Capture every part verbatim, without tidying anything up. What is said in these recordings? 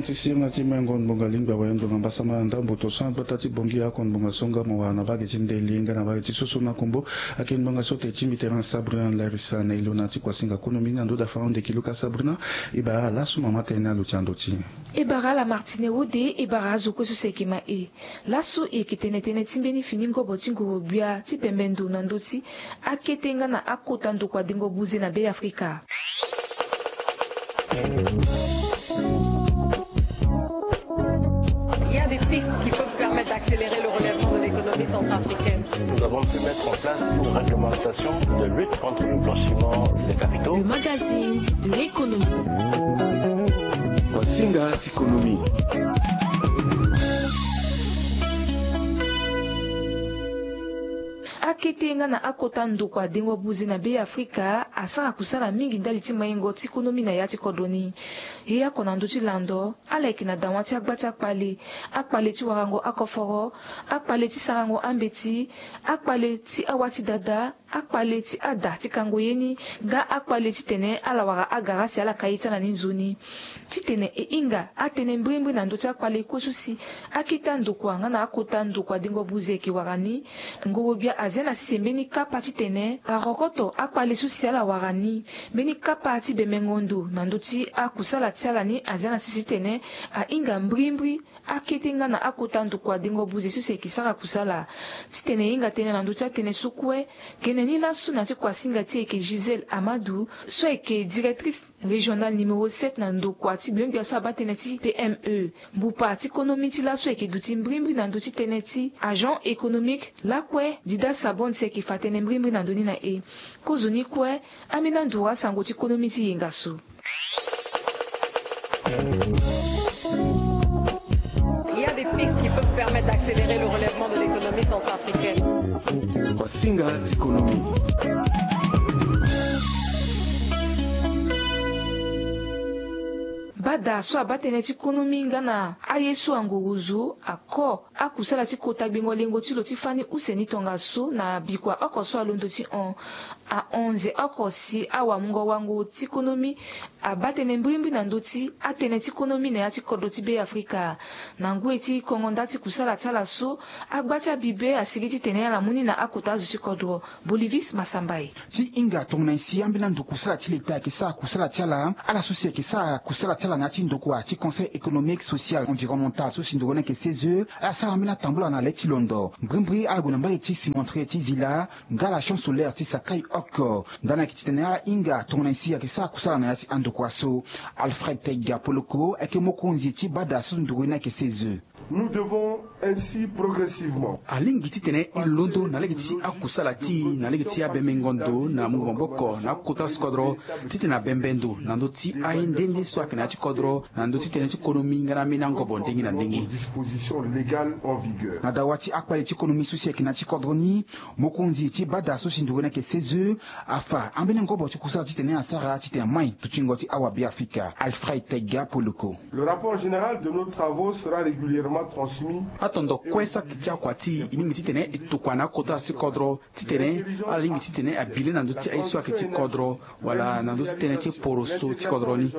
Ti sirina ti mengo ngbonga lingba waye ngbonga mbasama na ndambo to so na gbata ti bongi ako ngbonga so nga mo wara na vage ti ndeli nga na vage ti soso na kombo. Ake ngbonga so te ti mbi tere na Sabrina Larisa na ilo na ti kuasinga konomi na ndo dafa onde kiluka Sabrina. E bara lasu mama tene na lo ti ando ti e. E bara ala Martine Wode. E bara azo kue so si ayeke ma e. Lasu e yeke tene tënë ti mbeni fini ngobo ti nguru-gbia ti bembe ndo na ndö ti akete nga na akota ndokua dengo buze na Be Afrika. Il y a des pistes qui peuvent permettre d'accélérer le relèvement de l'économie centrafricaine. Nous avons pu mettre en place une réglementation de lutte contre le blanchiment des capitaux. Le magazine de l'économie. Kuasinga ti konomi. Akete nga na akota ndokua dengo buze na Be Afrika asara kusala mingi ndali ti maingo ti konomi na ya ti kodro ni. Ye oko na ndö ti lando, ala yeke na dawa ti agba ti akpale, akpale ti warango akoforo, akpale ti sarango ambeti, akpale ti awa ti dada, akpale ti ada ti kango ye ni, nga akpale titene ala wara agara si ala ka ye ti ala ni nzoni. Titene e hinga atënë mbrimbri na ndö ti akpale kue so si akete andokua nga na akota ndokua dengo buze ayeke wara ni, ngoro-gbia azia na sese mbeni kapa titene arokoto akpale so si ala wara ni. Mbeni kapa ti bemengo ndo na ndö ti akusala ti ala ni azia na sese titene ahinga mbrimbri akete nga na akota ndokua dengo buze so si ayeke sara kusala. Titene e hinga tënë na ndö ti atënë so kue, gene ni laso na ya ti kuasinga ti e ayeke Gisèle Amadou so ayeke directrice régionale numéro sept na ndokua ti gbiongbia so abaa tënë ti P M E. Mbupa ti konomi ti laso ayeke duti mbrimbri na ndö ti tënë ti agent économique lakue. Dida Sabon si ayeke fa tënë mbrimbri na ndö ni na e. Kozoni kue, ambeni anduru asango ti konomi ti yenga so. Il y a des pistes qui peuvent permettre d'accélérer le relèvement de l'économie centrafricaine. Kuasinga ti konomi. Bada so abaa tënë ti konomi nga na aye so angorozo ako akusala ti kota gbengo lengo ti lo ti fani use ni tongaso na bikua oko so alondo ti hon. Ahon nze oko si awamungo wango ti konomi abaa tënë mbrimbri na ndö ti atënë ti konomi na ya ti kodro ti Be Afrika. Na ngoi ti kongo nda ti kusala ti ala so, agba ti abibe asigi titene ala mu ni na akota azo ti kodro. Bolivis Masambai. Ti hinga tongana nyen si ambeni ando kusala ti leta ayeke sara kusala ti ala, ala so si ayeke sara kusala ti ala na ya ti ndokua ti Conseil économique, social, environnemental so si ndokua ni ayeke C E S E, ala sara ambeni atambula na le ti londo. Mbrimbri ala gue na mbage ti cimenterie ti Zila nga la chambre solaire ti Sakai oko. Ndani ayeke titene ala hinga tongana nyen si ayeke sara kusala na ya ti andokua so. Alfred Taiga Poloko ayeke mokonzi ti bada so ndokua ni ayeke C E S E. Nous devons ainsi progressivement. Alingbi titene e londo na lege ti akusala ti e na lege ti abemengo ndo na mungo maboko na akota so kodro, titene abembe ndo na ndö ti aye nde nde so ayeke na ya ti kodro, na ndö ti tënë ti konomi nga na ambeni angobo ndenge na ndenge. Dispositions légales en vigueur. Na dawa ti akpale ti konomi so si ayeke na ya ti kodro ni, mokonzi ti bada so si nduru ni ayeke C E S E afa ambeni ngobo ti kusala titene asara titene amai dutingo ti awabe Afrika. Alfred Taiga Poloko. Le rapport général de nos travaux sera régulièrement transmis. Atondo kue so ayeke ti akua ti e, e lingbi titene e tokua na akota so ti kodro titene ala lingbi titene abi le na ndö ti aye so ayeke ti kodro, wala na ndö ti tënë ti poroso ti kodro ni.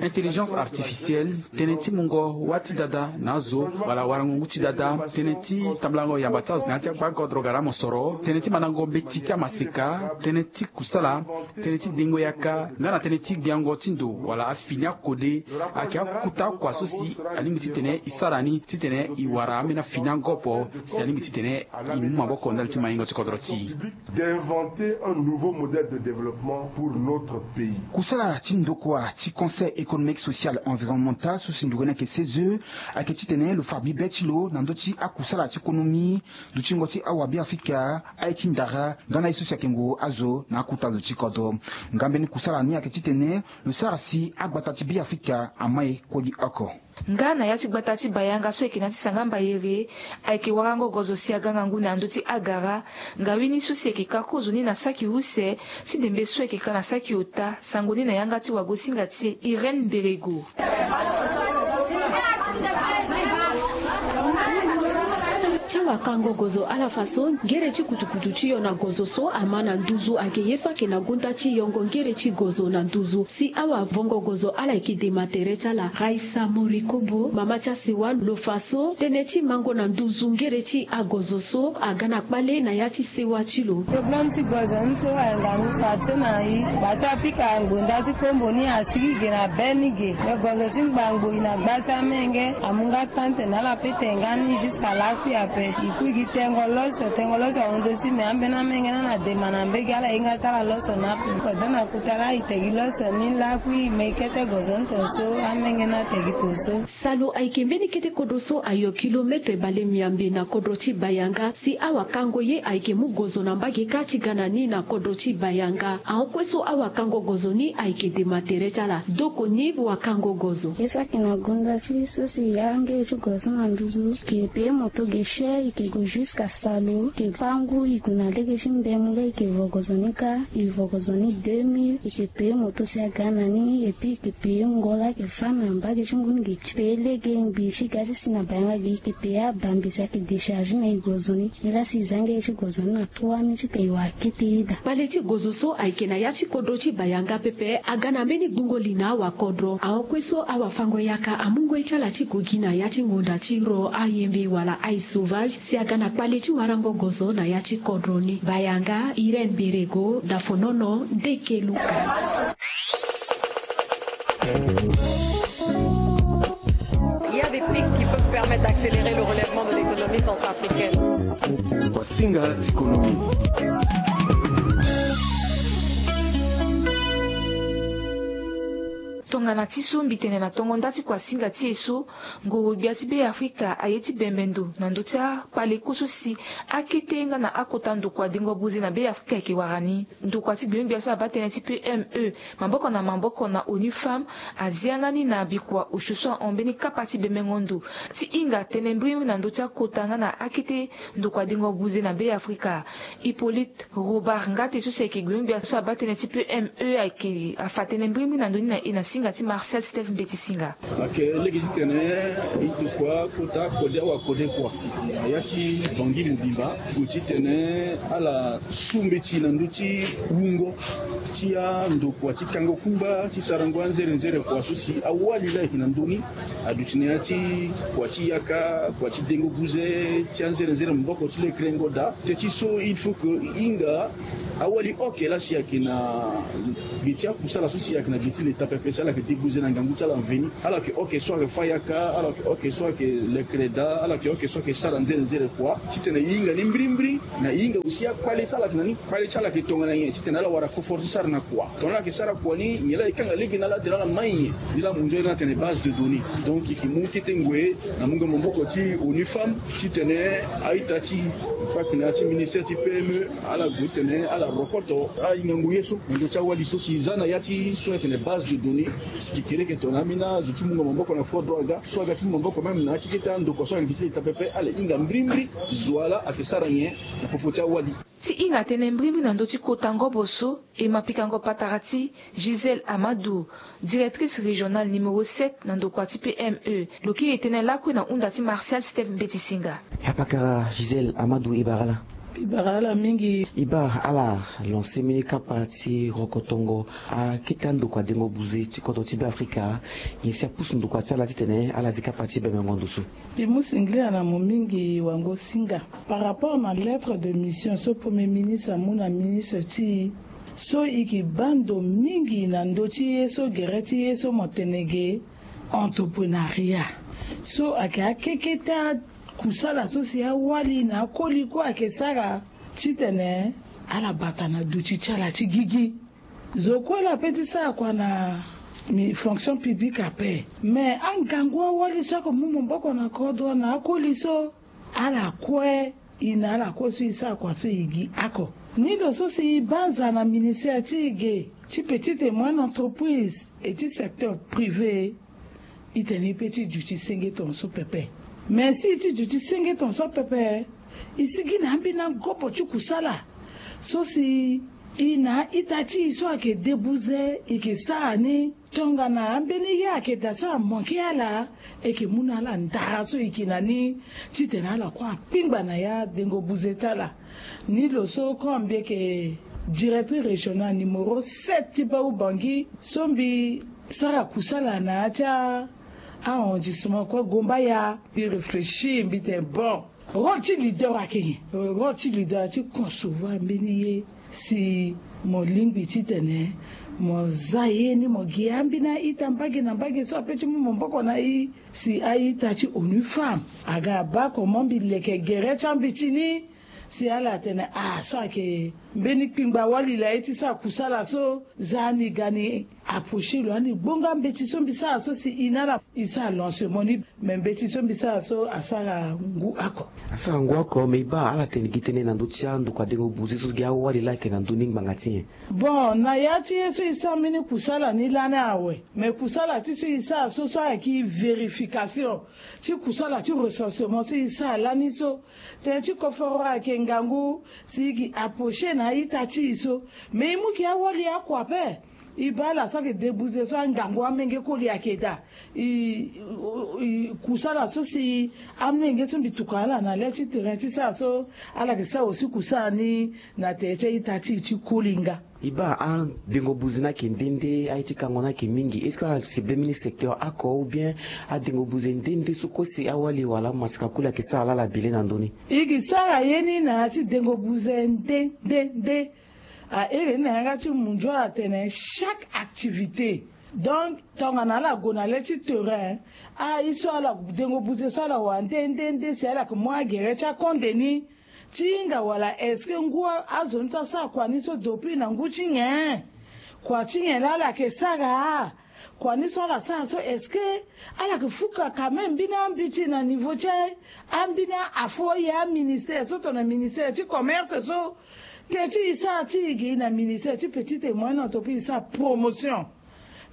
Intelligence artificielle, tënë ti mungo wâ ti dada na azo, wala warango ngu ti dada, tënë ti tambulango yamba ti azo na ya ti akpa kodro gara mosoro, tënë ti mandango mbeti ti amaseka, tënë ti kusala, tënë ti dengo yaka nga na tënë ti gbiango ti ndo wala afini akode. Ayeke akota akua so si alingbi titene e sara ni titene e wara ambeni afini angobo si alingbi titene e mu maboko ndali ti maingo ti kodro ti e. D'inventer un nouveau modèle de développement pour notre pays. Kusala ti ndokua ti Conseil économique, social, environnemental so si nduru ni ayeke C E S E ayeke titene lo fa bibe ti lo na ndö ti akusala ti konomi, dutingo ti awabe Afrika, aye ti ndara nga na aye so si ayeke nguru azo na akota zo ti kodro. Nga mbeni kusala ni ayeke titene lo sara si agbata ti Be Afrika amai kodi oko. Nga na ya ti gbata ti Bayanga so ayeke na ya ti Sangamba Yere, ayeke warango gozo si aga ngangu na ndö ti agara. Ngawini so si ayeke ka kozoni na saki use ti ndembe so ayeke ka na saki ota, sango ni na yanga ti wagosinga ti e Irène Mberego. Ti awakango gozo ala fa so ngere ti kutukutu ti yo na gozo so ama na nduzu ayeke ye so ayeke na gunda ti yongo ngere ti gozo na nduzu. Si awavongo gozo ala yeke dema tere ti ala. Raisa Morikobo, mama ti asewa, lo fa so tënë ti mango na nduzu ngere ti agozo so aga na kpale na ya ti sewa ti lo. Problème ti gozo ni so ayanga ngu fa ti na i gba ti apika ngbonda ti kombo ni asigi ge na be ni ge. Me gozo ti ngbangbo i na gba ti amenge amu nga tante na ala pe tene nga ni jusqu'à lakui ape. I kui gi tengo loso, tengo loso ahunde ti me ambeni amenge na na dema na mbege ala hinga ti ala loso na ape. Kodro na kota la i tegi loso ni lakui me i kete gozo ni tonso amenge na tegi tonso. Salo ayeke mbeni kete kodro so ayo kilometre bale miambe na kodro ti Bayanga. Si awakango ye ayeke mu gozo na mbage kâ ti ga na ni na kodro ti Bayanga. Ahon kue so awakango gozo ni ayeke dema tere ti ala. Doko ni wakango gozo. Ye so ayeke na gunda ti so si ya nge ti gozo na nduzu ke pe moto ge cher i ke go jusqu'à salo ke fa ngu i gue na lege ti mbemu la i ke vo gozo ni kâ. I vo gozo ni deux mille i ke pe moto si aga na ni et puis i ke pe ngo la ke fa na mbage ti ngu ni ge. Pe lege ngbi ti ga ti si na Bayanga ge i ke pe abambe si ayeke décharge na i gozo ni. Ni la si i za nge ti gozo ni na trois mille ti tene i wa kete ida. Kpale ti gozo so ayeke na ya ti kodro ti Bayanga pepe aga na mbeni gbungo li na awakodro. Ahon kue so awafango yaka amu ngoi ti ala ti gue gi na ya ti ngonda ti ro ayembe wala aye sauvage si aga na kpale ti warango gozo na ya ti kodro ni. Bayanga, Irène Berego, Dafonono, Ndeke Luka. Il y a des pistes qui peuvent permettre d'accélérer le relèvement de l'économie centrafricaine. Wasinga ti économie. Tongana ti so mbi tene na tongo nda ti kuasinga ti e so, nguru-gbia ti Beafrika aye ti bembe ndo na ndö ti akpale kue so si akete nga na akota ndokua dengo buze na Beafrika ayeke wara ni. Ndokua ti gbio-gbia so abaa tënë ti P M E maboko na maboko na ONU Femmes azia nga ni na bikua osio so ahon mbeni kapa ti bembengo ndo ti hinga tënë mbirimbiri na ndö ti akota nga na akete ndokua dengo buze na Beafrika. Hippolyte Robert Ngate so si ayeke gbio-gbia so abaa tënë ti P M E ayeke afa tënë mbirimbiri na ndö ni na e na singa ti Martial Steph Mbeti Singa. Ayeke lege titene e tokua kota kode awakode kua na ya ti Bangui mobimba. Gue titene ala su mbeti na ndö ti wungo ti andokua ti kango kungba ti sarango anzere nzere kua so si awali la ayeke na ndö ni. Aduti na ya ti kua ti yaka, kua ti dengo buze ti anzere nzere maboko ti lekrengo daa. Teti so il faut que e hinga awali oke la si ayeke na gi ti akusala so si ayeke na gi ti leta pepe si ala yeke debuze na ngangu ti ala mveni. Ala yeke oke so ayeke fâ yaka, ala yeke oke so ayeke lekere daa, ala yeke oke so ayeke sara nzere nzere kua. Titene e hinga ni mbirimbiri na e hinga aussi akpale so ala yeke na ni. Kpale ti ala yeke tongana nyen titene ala wara confort ti sara na kua. Tongana ala yeke sara kua ni nyen la e kanga lege na ala tene ala mai nyen. Ni la amu nzoni atene base de données. Donc e yeke mu kete ngoi na mungo maboko ti ONU Femmes titene a-ita ti, faki na ya ti ministère ti P M E, ala gue tene ala rokoto ahingango ye so na ndö ti awali so si e za na ya ti so atene base de données. Si e yeke leke tongana ambeni azo ti mungo maboko na kodro aga so aga ti mu maboko même na akekete andokua so ayeke na gi ti leta pepe ala hinga mbirimbiri zo ala ayeke sara nyen na popo ti awali. Ti hinga tënë mbirimbiri na ndö ti kota ngobo so e ma pikango patara ti Gisèle Amadou, directrice régionale numéro sept na ndokua ti P M E. Lo kiri tënë lakue na hunda ti Martial Steph Mbeti Singa. Apakara Gisèle Amadou, e bara ala. E bara ala mingi. E bara ala lancer mbeni kapa ti rokotongo akete andokua dengo buze ti kodro ti Beafrika. Nyen si apusu ndokua ti ala titene ala zi kapa ti bembengo ndo so? Mbi mu singila na mo mingi wango singa. Par rapport na lettre de mission so Premier ministre amu na ministre ti e, so e yeke baa ndo mingi na ndö ti ye so gere ti ye so mo tene ge entreprenariat. So ayeke akekete akusala so si awali na akoli kue ayeke sara titene ala bata na duti ti ala ti gigi. Zo kue la pe ti sara kua na mi fonction publique ape. Me angangu awali so ako mu maboko na kodro na akoli so ala kue, e na ala kue so e sara kua so e gi ako. Ni lo so si e banza na ministère ti e ge ti petite et moyenne entreprise et ti secteur privé. E tene e pe ti duti senge tongaso pepe. Me si e ti duti senge tongaso pepe, e sigi na ambeni angobo ti kusala so si E na a-ita ti e so ayeke debuze e yeke sara ni. Tongana ambeni ye ayeke daa so amanke ala, e yeke mu na ala ndara so e yeke na ni titene ala kue akpingba na ya dengo buze ti ala. Ni lo so comme mbi yeke directrice régionale numéro sept ti bau Bangui so mbi sara kusala na ya ti a arrondissement kue Gombaya. Mbi réfléchir mbi tene bon, rôle ti leader ayeke nyen? Rôle ti leader ti concevoir mbeni ye si mo lingbi titene mo za ye ni mo gi ambeni a-ita mbage na mbage so ape ti mu maboko na e. Si a-ita ti onu femme aga abaa comment mbi leke gere ti ambeti ni. Si ala tene ah so ayeke mbeni kpingba wali la ye ti sara kusala so, za ni ga ni approcher lo ani gbonga mbeti so mbi sara so si e na ala e sara lancement ni. Me mbeti so mbi sara so asara ngu oko. Asara ngu oko, me e baa ala tene gi tënë na ndö ti andokua dengo buze so gi awali la ayeke na ndö ni ngbanga ti nyen? Bon, na ya ti ye so e sara mbeni kusala ni lani awe. Me kusala ti so e sara so so ayeke vérification ti kusala ti recensement so e sara lani so. Tënë ti koforo ayeke ngangu si e yeke approcher na a-ita ti e so. Me e mu gi awali oko ape. E baa ala so ayeke debuze so angangu amenge koli ayeke daa. E, e, e, kusala so si amolenge so mbi tuka ala na le ti terrain ti sara so, ala yeke sara aussi kusala ni na tere ti a-ita ti e ti koli nga. E baa adengo buze ni ayeke nde nde, aye ti kango ni ayeke mingi. Est-ce que ala cible mbeni secteur oko ou bien adengo buze nde nde so kue si awali wala amasika koli ayeke sara lala bele na ndö ni? E yeke sara ye ni na ya ti dengo buze nde nde nde. Ahere ni na yanga ti munzu ala tene chaque activité. Donc tongana ala gue na le ti terrain, a-ye so ala dengo buze so ala wara nde nde nde si ala yeke mu agere ti akonde ni ti hinga wala est-ce que ngu azo ni so asara kua ni so depuis na ngu ti nyen? Kua ti nyen laa ala yeke sara? Kua ni so ala sara so est-ce que ala yeke fuka quand même mbeni ambeti na niveau ti ambeni afo ye aministère so tongana ministère ti commerce so? Teti e sara ti e ge e na ministère ti petite et moyenne entreprise e sara promotion.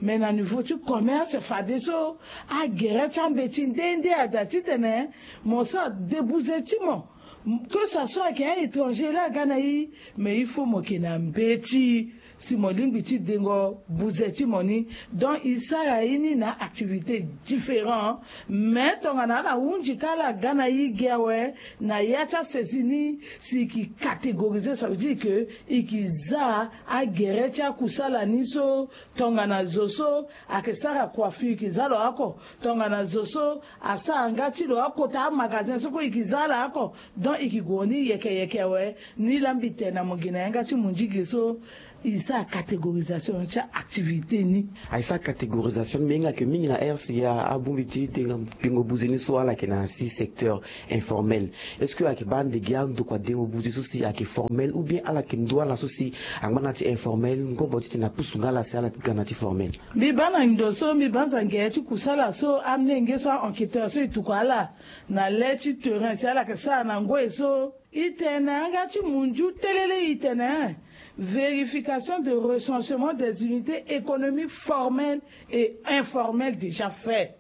Mais na niveau ti commerce fadeso agere ti ambeti nde nde ada titene mo sara debuze ti mo. Que ça soit ayeke a-étranger la aga na e, mais il faut mo yeke na mbeti si mo lingbi ti dengo buze ti mo ni. Donc e sara ye ni na activité différent. Mais tongana ala hunzi ka ala ga na e gi awe na ya ti asaisie ni, si e yeke catégoriser, ça veut dire que e yeke za agere ti akusala ni so. Tongana zo so ayeke sara coiffure e yeke za lo oko. Tongana zo so asara nga ti lo akota amagasin so kue e yeke za ala oko. Donc e yeke gue ni yeke yeke awe. Ni laa mbi tene na mo gi na yanga ti mondigi so e sara catégorisation ti activité ni. Aye sara catégorisation ni me hinga yeke mingi na R C A abongbi ti dengo buze ni so ala yeke na six secteurs informels. Est-ce que ayeke baa ande gi andokua dengo buze so si ayeke formel ou bien ala yeke ndu ala so si angba na ya ti informel ngobo titene apusu nga ala si ala ga na ya ti formel? Mbi baa na ndo so mbi banza ngere ti kusala so amolenge so a-enquêteur so e tuka ala na le ti terrain si ala yeke sara na ngoi so. E tene na yanga ti munzu telele e tene vérification de recensement des unités économiques formelles et informelles déjà fait.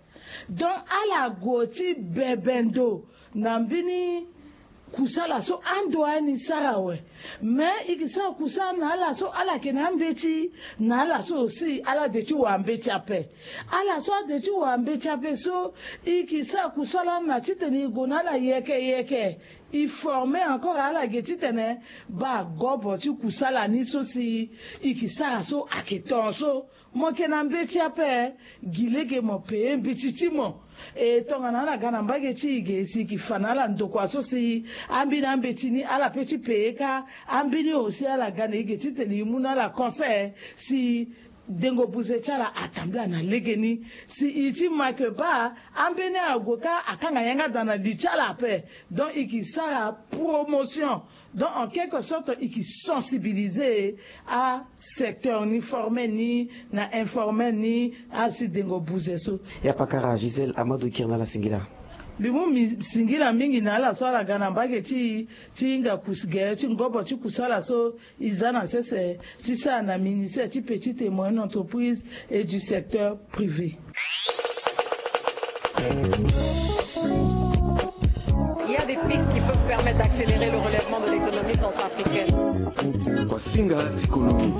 Donc ala gue ti bebe ndo na mbeni kusala so ando aye ni sara awe. Mais e ke sara kusala na ala so ala yeke na ambeti, na ala so aussi ala de ti wara mbeti ape. Ala so ade ti wara mbeti ape so e ke sara kusala na titene e gue na ala yeke yeke. E forme encore ala ge titene baa gobo ti kusala ni so si e ke sara so ayeke ton so. Mo yeke na mbeti ape, gi lege mo peye mbeti ti mo. E tongana ala ga na mbage ti e ge si e ke fa na ala ndokua so si ambeni ambeti ni ala pe ti peye kâ. Ambeni aussi ala ga na e ge titene e mu na ala conseil si dengo buze ti ala atambula na legeni. Si e ti ma ke baa ambeni ague kâ akanga yanga daa na li ti ala ape. Donc e ke sara promotion. Donc en quelque sorte e ke sensibiliser asecteur ni formel ni na informel ni asi dengo buze so. Ya pakara Gisèle Amadou Kirnala singila. Mbi mu mbi singila mingi na ala so ala ga na mbage ti e ti hinga kus gere ti ngobo ti kusala so e za na sese ti sara na ministère ti petite et moyenne entreprise et du secteur privé. Il y a des pistes qui peuvent permettre d'accélérer le relèvement de l'économie centrafricaine. Kuasinga ti konomi.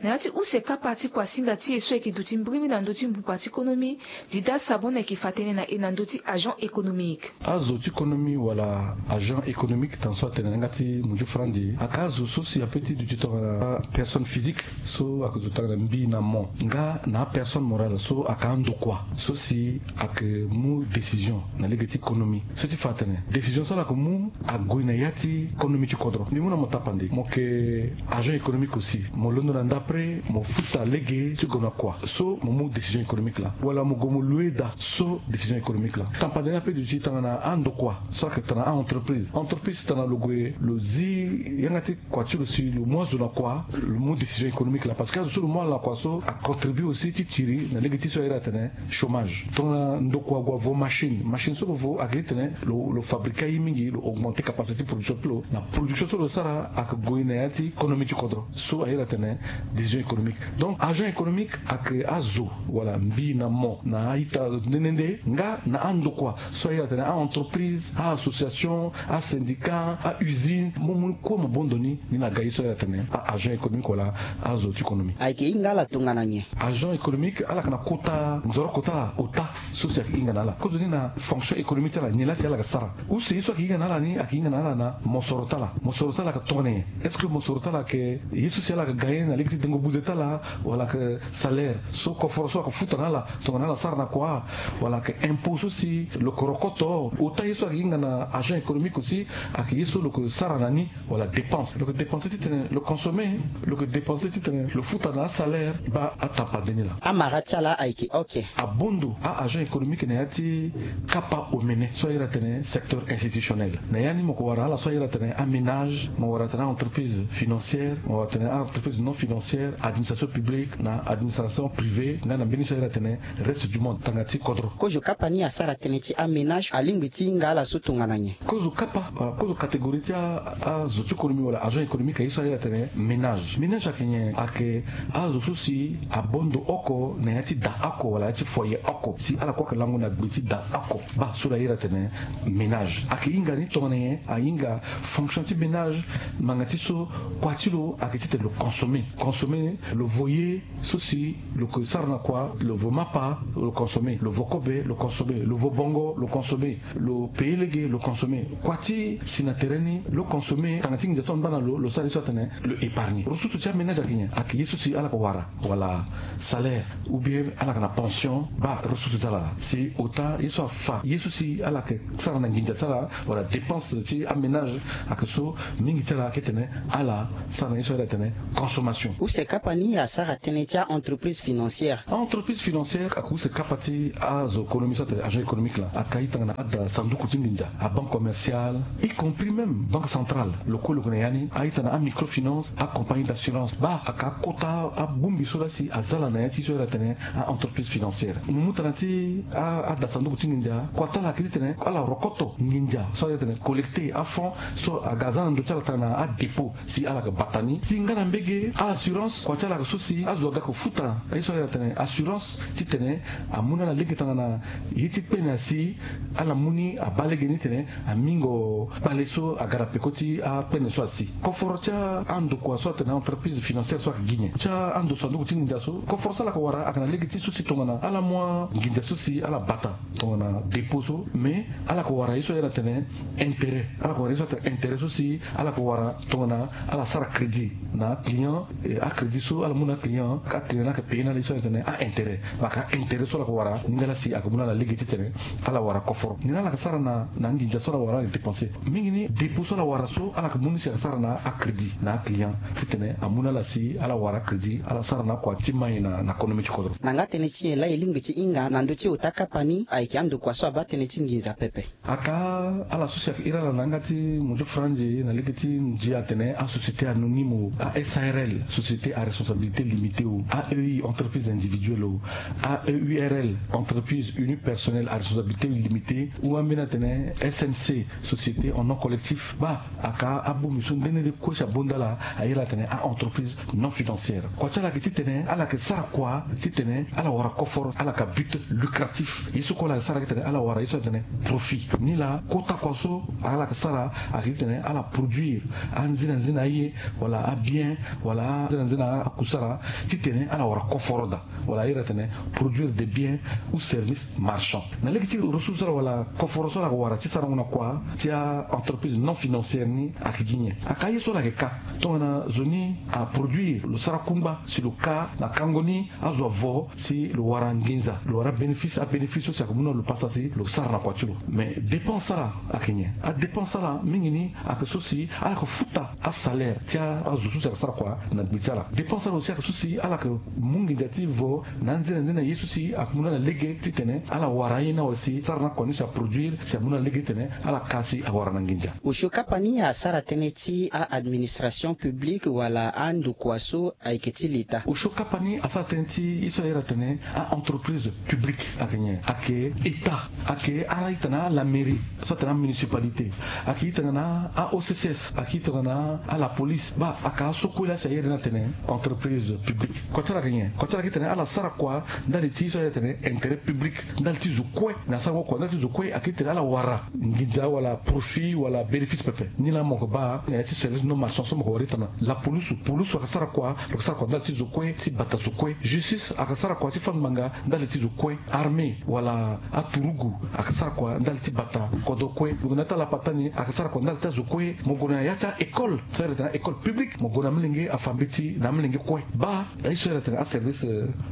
Na ya ti use kapa ti kuasinga ti e so ayeke duti mbirimbiri na ndö ti mbupa ti konomi, Dida Sabon ayeke fa tënë na e na ndö ti agent économique. Azo ti konomi wala agent économique, tanso atene na yanga ti munju franzi, ayeke azo so si ape ti duti tongana personne physique so ayeke zo tanga na mbi na mo, nga na apersonne morale so ayeke andokua so si ayeke mu décision na lege ti konomi. So ti fa atene décision so ala yeke mu ague na ya ti konomi ti kodro. Mbi mu na mo tapande, mo yeke agent économique aussi, mo londo na ndapre mo futa lege ti gue na kua so mo mu décision économique laa, wala mo gue mo loue daa so décision économique laa. Tapande ni ape duti tongana andokua so ayeke tongana a-entreprise. Entreprise tongana lo gue lo zi yanga ti kua ti lo si lo mu azo na kua, lo mu décision économique laa, parce que azo so lo mu ala na kua so acontribue aussi ti tiri na lege ti so airi atene chômage. Tongana ndokua ague avo machine, machine so lo vo ayeke ti tene lo fabrique aye mingi, lo augmente capacité ti production ti lo. Na production so lo sara ayeke gue na ya ti konomi ti kodro so airi atene décision économique. Donc agent économique ayeke azo wala mbi na mo na a-ita nde nde nde nga na andokua so airi atene a-entreprise, a-association, asyndicat, a-usine. Mo mu ni kue mo bondo ni, ni na ga ye so airi atene a-agent économique wala azo ti konomi. Ayeke hinga ala tongana nyen? Agent économique ala yeke na kota nzoro kota ala ota so si ayeke hinga na ala. Kozoni na fonction économique ti ala, nyen laa si ala yeke sara? Use ye so ayeke hinga na ala ni ayeke hinga na ala na mosoro ti ala. Mosoro ti ala ayeke tongana nyen? Est-ce que mosoro ti ala ayeke ye so si ala yeke gagner na lege ti dengo buze ti ala, wala ayeke salaire so koforo so ayeke futa na ala tongana ala sara na kua, wala ayeke impôt so si lo yeke rokoto? Ota ye so ayeke hinga na agent économique aussi ayeke ye so lo yeke sara na ni. Wala dépense lo yeke dépense ti tene lo consommer, lo yeke dépense ti tene lo futa na asalaire. Baa atapande ni laa. Amara ti ala ayeke oke. Abondo a-agent économique na ya ti kapa omene so airi atene secteur institutionnel. Na ya ni mo yeke wara ala so airi atene aménage, mo wara atene a-entreprise financière, mo wara atene a-entreprise non financière, administration publique na administration privée nga na mbeni so airi atene reste du monde, tanga ti kodro. Kozo kapa ni asara tënë ti aménage alingbi ti hinga ala so tongana nyen? Kozo kapa, kozo catégorie ti azo ti konomi wala agent économique aye so airi atene ménage. Ménage ayeke nyen? Ayeke azo so si abondo oko na ya ti da oko wala ya ti foyer oko si ala kue ayeke lango na gbe ti da oko. Baa so lo airi atene ménage ayeke hinga ni tongana nyen? Ahinga fonction ti ménage ngbanga ti so kua ti lo ayeke ti tene lo consommer. Consommer lo vo ye so si lo yeke sara na kua, lo vo mapa lo consommer, lo vo kobe lo consommer, lo vo bongo lo consommer, lo paye lege lo consommer. Kua ti si na tere ni lo consommer, tanga ti nginza so angba na lo, lo sara ye so atene lo épargner. Ressource ti aménage ayeke nyen? Ayeke ye so si ala yeke wara wala salaire ou bien ala yeke na pension. Baa ressource ti ala laa si ota ye so afa ye so si ala yeke sara na nginza ti ala wala dépense ti aménage ayeke so mingi ti ala ayeke tene ala sara na ye so airi atene consommation. Use kapa ni asara tënë ti a-entreprise financière. A-entreprise financière ayeke use kapa ti azo konomi so atene agent économique laa. Ayeke aye tongana ada sanduku ti nginza, abanque commerciale, y compris même banque centrale. Lo kue lo yeke na ya ni. Aye tongana amicrofinance, acompagnie d'assurance. Baa ayeke akota abongbi so laa si aza ala na ya ti so airi atene a-entreprise financière. Mo mu tana ti ada sanduku ti nginza, kua ti ala ayeke ti tene ala rokoto nginza so airi atene collecter afonds so aga aza na ndö ti ala tongana adépôt si ala yeke bata ni. Si nga na mbege a-assurance, kua ti ala ayeke so si azo aga ayeke futa ye so airi atene assurance ti tene amu na ala lege tongana ye ti kpene asi ala mu ni abaa lege ni tene amingo kpale so aga na peko ti akpene so asi. Koforo ti andokua so atene entreprise financière so ayeke gi nyen? Ti ando sanduku ti nginza so, koforo so ala yeke wara ayeke na lege ti so si tongana ala mu anginza so si ala bata tongana dépôt so, mais ala yeke wara ye so airi atene intérêt. Ala yeke wara ye so atene intérêt so si ala yeke wara tongana ala sara crédit na aclient. Acrédit so ala mu na aclient, aclient ni ayeke paye na ala ye so airi atene a-intérêt. Ayeke a-intérêt so ala yeke wara ni nga laa si ayeke mu na ala lege ti tene ala wara koforo. Ni laa ala yeke sara na anginza so ala wara ala yeke dépenser. Mingi ni dépôt so ala wara so ala yeke mu ni si ayeke sara na acrédit na aclient ti tene amu na ala si ala wara crédit, ala sara na akua ti mai na konomi ti kodro. Na nga tënë ti nyen laa e lingbi ti hinga na ndö ti ota kapa ni ayeke andokua so abaa tënë ti nginza pepe? Aka ala so si ayeke iri ala na yanga ti munju franzi na lege ti ndia atene asociété anonyme, a-sarl, société société à responsabilité limitée o, aei entreprise individuelle o, aeurl entreprise unipersonnelle à responsabilité limitée, ou ambeni atene snc société en nom collectif, baa aka abongbi so nde nde kue si abonda ala ayere atene a-entreprise non financière. Kua ti ala yeke titene ala yeke sara kua titene ala wara koforo, ala yeke but lucratif. Ye so kue ala yeke sara ayeke titene ala wara ye so atene profit. Nilaa kota kua so ala yeke sara ayeke titene ala produire anzinanzina aye, wala abien, wala anzinanzina akusara, titene ala wara koforo daa, wala ayere atene produire des biens ou services marchands. Na lege ti ressource so ala wala koforo so ala yeke wara ti sarango na kua ti a-entreprise non financière ni ayeke gi nyen? Aka aye so ala yeke ka tongana zo ni aproduire, lo sara kungba si lo ka na kango ni, azo avo si lo wara nginza, lo wara bénéfice, abénéfice so si ayeke mu na lo pasa si lo sara na kua ti lo. Mais dépense ala ayeke nyen? Adépense ala mingi ni ayeke so si ala yeke futa asalaire ti azo so si ayeke sara kua na gbe ti ala. Dépense ala aussi ayeke so si ala yeke mu nginza ti vo na anzenanzena ye so si amu na ala lege titene ala wara aye ni awe si sara na kua ni si aproduire si amu na ala lege titene ala ka si awara na nginza. Osio kapa ni asara tënë ti a-administration publique wala andokua so ayeke ti leta. Osio kapa ni asara tënë ti ye so ayere atene a-entreprise publique. Ayeke nyen? Ayeke état, ayeke ala itene ala mairie, so atene amunicipalité, ayeke itene na a-occs, ayeke itene na ala police. Baa ayeke aso kue laa si ayere ni atene entreprise publique. Kua ti ala ayeke nyen? Kua ti ala ayeke itene ala sara kua ndali ti so ayere atene intérêt public, ndali ti zo kue. Na sarango kua ndali ti zo kue ayeke itene ala wara nginza wala profit wala bénéfice pepe. Nilaa mo yeke baa na ya ti service non marchand so mo yeke wara itene na la police. Police ayeke sara kua, lo yeke sara kua ndali ti zo kue ti bata zo kue. Justice ayeke sara kua ti fâ ngbanga ndali ti zo kue. Armée wala aturugu ayeke sara kua ndali ti bata kodro kue. Lo gue na ya ti alapata ni ayeke sara kua ndali ti azo kue. Mo gue na ya ti a-école so ayere atene école publique, mo gue na amolenge afa mbeti na amolenge kue. Baa aye so ayere atene aservice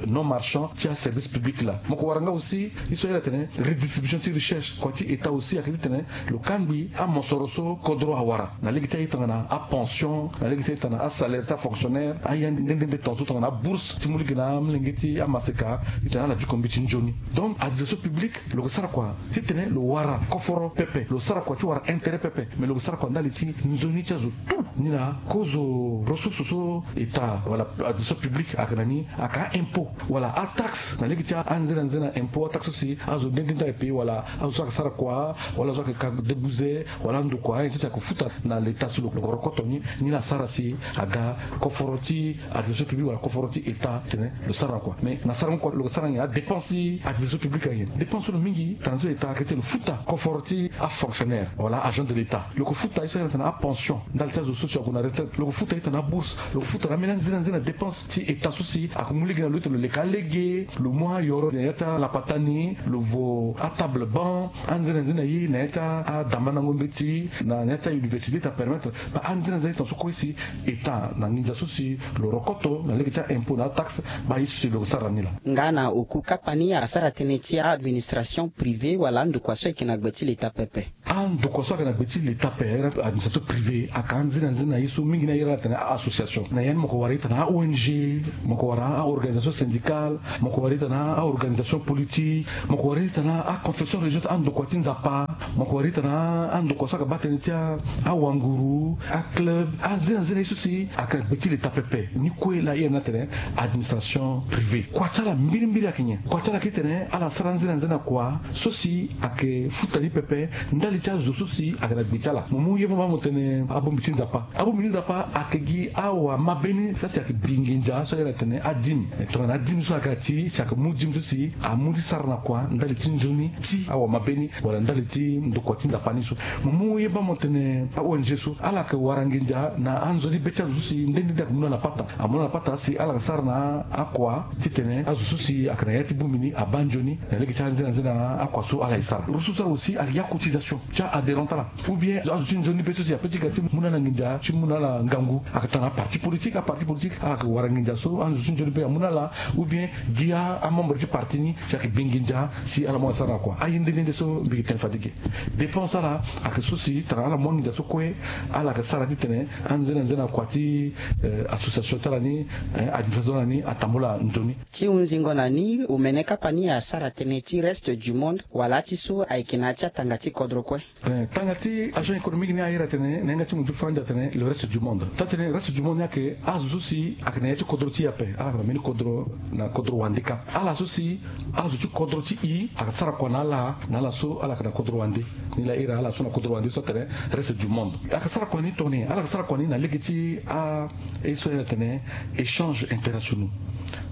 non marchand ti aservice public laa. Mo yeke wara nga aussi ye so ayere atene redistribution ti richesse. Kua ti état aussi ayeke titene lo kangbi amosoro so kodro awara na lege ti aye tongana apension, na lege ti aye tongana asalaire ti afonctionnaire, aye nde nde nde tongaso tongana abourse ti mu lege na amolenge ti amaseka, titene ala diko mbeti nzoni. Donc administration publique lo yeke sara kua titene lo wara koforo pepe, lo sara kua ti wara intérêt pepe, mais lo yeke sara kua ndali ti nzoni ti azo tout. Nilaa kozo ressource so état wala administration publique ayeke na ni, ayeke a-impôt wala ataxe na lege ti anzenanzena impôt, ataxe so si azo nde nde nde ayeke payer wala azo so ayeke sara kua wala azo so ayeke ka debuze wala andokua, ainsi de suite, ayeke futa na leta so lo yeke rokoto ni. Nilaa asara si aga koforo ti administration publique wala koforo ti état titene lo sara na kua. Mais na sarango kua lo yeke sara nyen? Adépense ti administration publique ayeke nyen? Dépense so lo mingi tongana so état ayeke titene lo futa koforo ti afonctionnaire wala agent de l'état. Lo yeke futa ye so ayere atene apension ndali ti azo so si ague na retraite. Lo yeke futa ye tongana abourse. Lo yeke futa na ambeni anzenanzena dépense ti état so si ayeke mu lege na lo titene lo leka lege, lo mu ayoro na ya ti alapata ni, lo vo atable banc, anzenanzena ye na ya ti adambandango mbeti na ya ti auniversité ti apermettre. Baa anzenanzena ye tongaso kue si état na nginza so si lo rokoto na lege ti a-impôt na ataxe, baa ye so si lo yeke sara na ni laa. Nga na oku kapa ni asara tënë ti a-administration privée wala andokua so ayeke na gbe ti leta pepe. Andokua so ayeke na gbe ti leta pepe, administration privée, ayeke anzenanzena ye so mingi ni ayere ala atene a-association. Na ya ni mo yeke wara ye titene a-ong, mo yeke wara a-organisation syndicale, mo yeke wara ye titene a-organisation politique, mo yeke wara ye titene a-confession religieuse, andokua ti nzapa, mo yeke wara ye titene andokua so ayeke baa tënë ti awanguru, aclub, anzenanzena ye so si ayeke na gbe ti leta pepe. Ni kue laa ayere ni atene administration privée. Kua ti ala mbirimbiri ayeke nyen? Kua ti ala ayeke titene ala sara anzenanzena kua so si ayeke futa ni pepe ndali ti azo so si ayeke na gbe ti ala. Mo mu ye mo baa mo tene abongbi ti nzapa. Abongbi ti nzapa ayeke gi awamabe ni so si ayeke bi nginza so ayere atene adime. Tongana adime so aga ti si ayeke mu dime so si amu ti sara na kua ndali ti nzoni ti awamabe ni wala ndali ti ndokua ti nzapa ni so. Mo mu ye baa mo tene a-ong so ala yeke wara nginza na anzoni be ti azo so si nde nde nde ayeke mu na ala pata. Amu na ala pata si ala yeke sara na akua titene azo so si ayeke na ya ti bongbi ni abaa nzoni na lege ti anzenanzena akua so ala ye sara. Ressource ti ala aussi ayeke ya cotisation ti a-adhérent ti ala. Ou bien azo ti nzoni be so si ape ti ga ti mu na ala nginza ti mu na ala ngangu ayeke tongana aparti politique. Aparti politique ala yeke wara nginza so azo ti nzoni be amu na ala, ou bien gi amembre ti parti ni si ayeke bi nginza si ala mu ala sara na kua. Aye nde nde nde so mbi yeke tene fade ge. Dépense ala ayeke so si tongana ala mu anginza so kue ala yeke sara titene anzenanzena kua ti association ti ala ni, administration ti ala ni atambula nzoni. Ti hunzingo na ni, omene kapa ni asara tënë ti reste du monde wala ti so ayeke na ya ti atanga ti kodro kue. Eh, tanga ti agent économique ni aye atene na yanga ti munzu faranja atene le reste du monde. Taa tene reste du monde ni ayeke azo so si ayeke na ya ti kodro ti e ape, ala yeke na mbeni kodro, na kodro wande kâ. Ala so si azo ti kodro ti e ayeke sara kua na ala, na ala so ala yeke na kodro wande. Ni laa iri ala so na kodro wande so atene reste du monde. Ayeke sara kua ni tongana nyen? Ala yeke sara kua ni na lege ti a, ye so aye atene échange internationaux.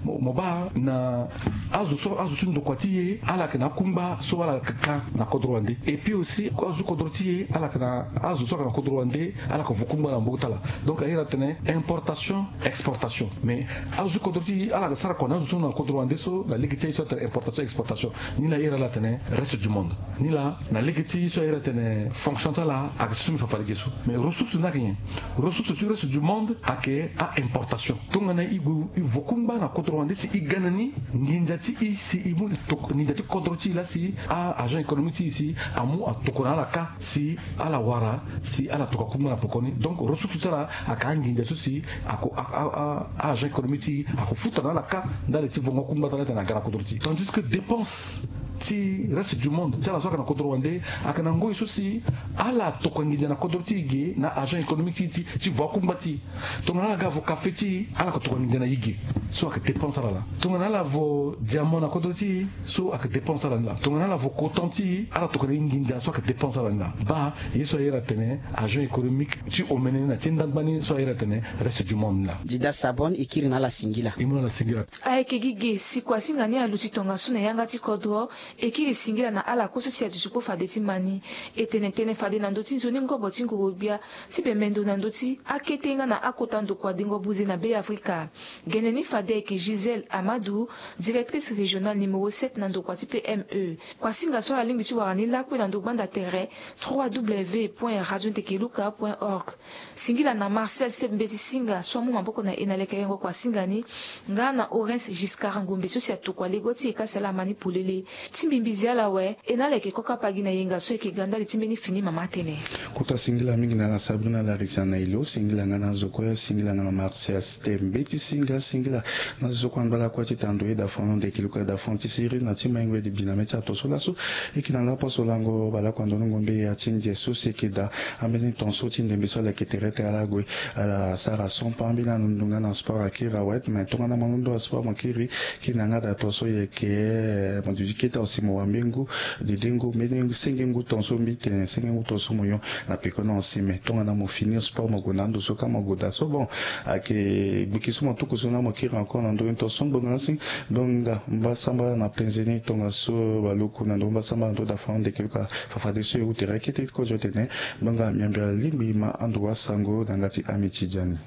Mo, mo baa na azo so, azo ti ndokua ti e ala yeke na akungba so ala yeke kâ na kodro wande. Et puis aussi azo ti kodro ti e ala yeke na, azo so ayeke na kodro wande ala yeke vo kungba na maboko ti ala. Donc aye atene importation, exportation. Mais azo ti kodro ti e ala yeke sara kua na azo so na kodro wande so na lege ti aye so atene importation, exportation. Ni laa iri ala atene reste du monde. Ni laa na lege ti so aye atene fonction ti ala ayeke ti so mbi fa fade ge so. Mais ressource ni ayeke nyen? Ressource ti reste du monde ayeke a-importation. Tongana e gue e vo kungba na kodro wande si e ga na ni nginza ti e si e mu e toko, nginza ti kodro ti e laa si a-agent économique ti e si amu atoko na ala kâ si ala wara si ala tokua kungba na pekoni. Donc ressource ti ala ayeke anginza so si ako, a, a, a, a-agent économique ti e ako futa na ala kâ ndali ti vongo kungba ti ala ti tene aga na kodro ti e. Tandis que dépense ti reste du monde ti ala so ayeke na kodro wande ayeke na ngoi so si ala tokua nginza na kodro ti e ge na agent économique ti e ti, ti vo akungba ti e. Tongana ala ga vo café ti e, ala yeke tokua nginza na e ge, so ayeke dépense ala laa. Tongana ala vo diamant na kodro ti e, so ayeke dépense ala ni laa. Tongana ala vo coton ti e, ala tokua na e nginza, so ayeke dépense ala ni laa. Baa ye so aye atene agent économique ti omene ni na ti ndangba ni so aye atene reste du monde ni laa. Dida Sabon, e kiri na ala singila. E mu na ala singila. Ayeke gi ge si kuasinga ni aluti tongaso na yanga ti kodro. E kiri singila na ala kue so si aduti kpo fade ti ma ni. E tene tënë fade na ndö ti nzoni ngobo ti nguru-gbia ti bembe ndo na ndö ti akete nga na akota ndokua dengo buze na Be Afrika. Gene ni fade ayeke Gisèle Amadou, directrice régionale numéro sept na ndokua ti P M E. Kuasinga so ala lingbi ti wara ni lakue na ndo gbanda tere trois W point radio ndeke luka point org. Singila na Martial Step Mbeti Singa so amu maboko na e na lekerengo kuasinga ni, nga na Orens Giscard Ngombe so si atokua lego ti e ka si ala ma ni polele. Ti mbimbi zi ala awe, e na ala yeke koko apagi na yenga so ayeke ga ndali ti mbeni fini mama tënë. Kota singila mingi na ala Sabrina Larisa na e lo, singila nga na azo kue, singila nga na Martial Step Mbeti Singa, singila na azo so kue angba lakue ti tando e da fran ndeke luka da fran ti siri na ti maingo e di bi na mê ti ato so laso. E yeke na laposo lango balaku ando ni ngombe ya ti nze so si e yeke daa. Ambeni ton so ti ndembe so ala yeke tere tere ala gue, ala sara sompa ambeni alondo nga na sport akiri awe. Me tongana mo londo na sport mo kiri, kiri na yanga daa ton so e yeke, eh, mo duti kete awe si mo wa mbengu, dedengu, mbeni senge ngu ton so mbi tene senge ngu ton so mo yo na pekoni awe si. Me tongana mo finir sport mo gue na ando so ka mo gue daa so, bon, ayeke gbiki so mo tuku so na mo kiri encore na ndö ni ton so ngbonga na si. Donc nga mbasambala na penze ni tongaso balaku na ndö mbasambala na ndö da fran ndeke luka. Fafadeso e ute reke ti kozo tene, donc nga miambi alingbi ma ando wasango na yanga ti ami ti diani.